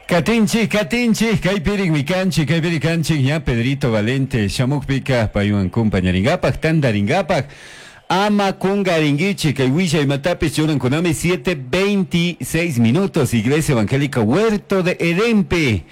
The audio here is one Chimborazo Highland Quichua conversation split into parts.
Katinchik, katinchik, kaypirikmi kanchik, kaypirik kanchik, ña Pedrito Valente shamukpika paywan kumpañarinkapak, tantarinkapak, ama kunkarinkichik, kay willay imatapish churankunami 7:26 minutos, Iglesia Evangélica Huerto de Edenpi.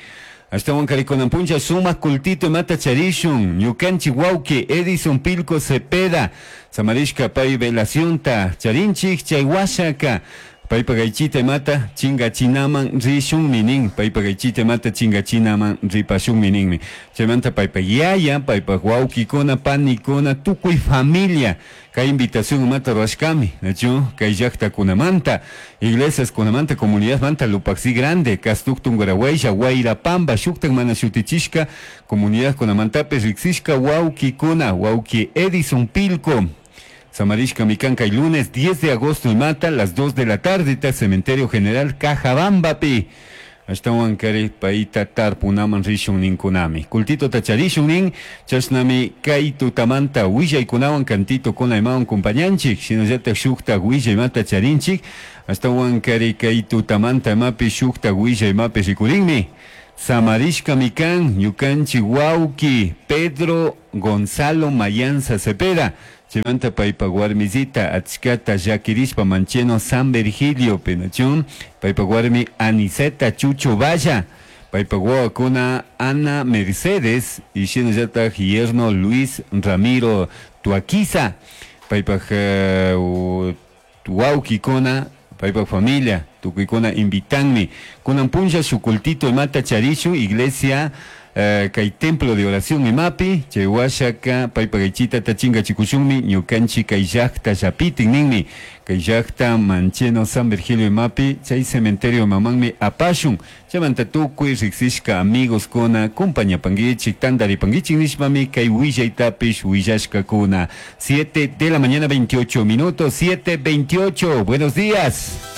Ashtawan karikunan puncha sumak cultito imata charishun, ñukanchik wawki Edison Pilco Cepeda, samarishka pay velacionta charinchik, chay washaka, paypak aychita imata chingachinaman rishunmi nin, paypak aychita imata chingachinaman ripashunmi ninmi. Chaymanta paypak yaya, paypak wawkikuna, panikuna, tukuy familia, kay invitación imata rurashkami, nachu kay llaktakunamanta, iglesiaskunamanta, comunidadmanta, Lupaxi Grande, Castuc Tungurahua, Guairapamba, shuktak mana shutichishka, comunidadkunamantapish riksishka wawkikuna, wawki Edison Pilco, Samarishka mikan kay lunes 10 de agosto imata, las 2 de la tarde, ta Cementerio General Cajabambapi. Ashtawan kari payta tarpunaman rishun ninkunami. Cultito tacharishun nin, chashnami kay tutamanta willaykunawan cantito kuna imawan kumpañanchik, shinallatak shuktak willaymata charinchik, ashtawan kari kay tutamanta imapi shuktak willaymapi rikurinmi. Samarishka mikan, ñukanchik wawki Pedro Gonzalo Mayanza Cepeda, chaymanta paypak warmisita achkata llakirishpa Mancheno San Virgilio penachun, paypak warmi Aniceta Chucho Valla, paypak wawakuna Ana Mercedes y shinallatak yerno Luis Ramiro Tuaquiza, paypak wawkikuna, paypak familia, tukuykuna invitanmi. Kunan punlla shuk cultito imata charishun, iglesia kay templo de oración imapi, chay washaka paypak aychita tachingachikushunmi, ñukanchik kay llakta llapitin ninmi, kay llakta Mancheno San Virgilio imapi, chay cementerio imamanmi apashun, chaymanta tukuy riksishka amigos kuna kumpañapankichik, tantaripankichik nishpami kay willaytapish willashkakuna. 7 de la mañana 28 minutos, 7:28, buenos días.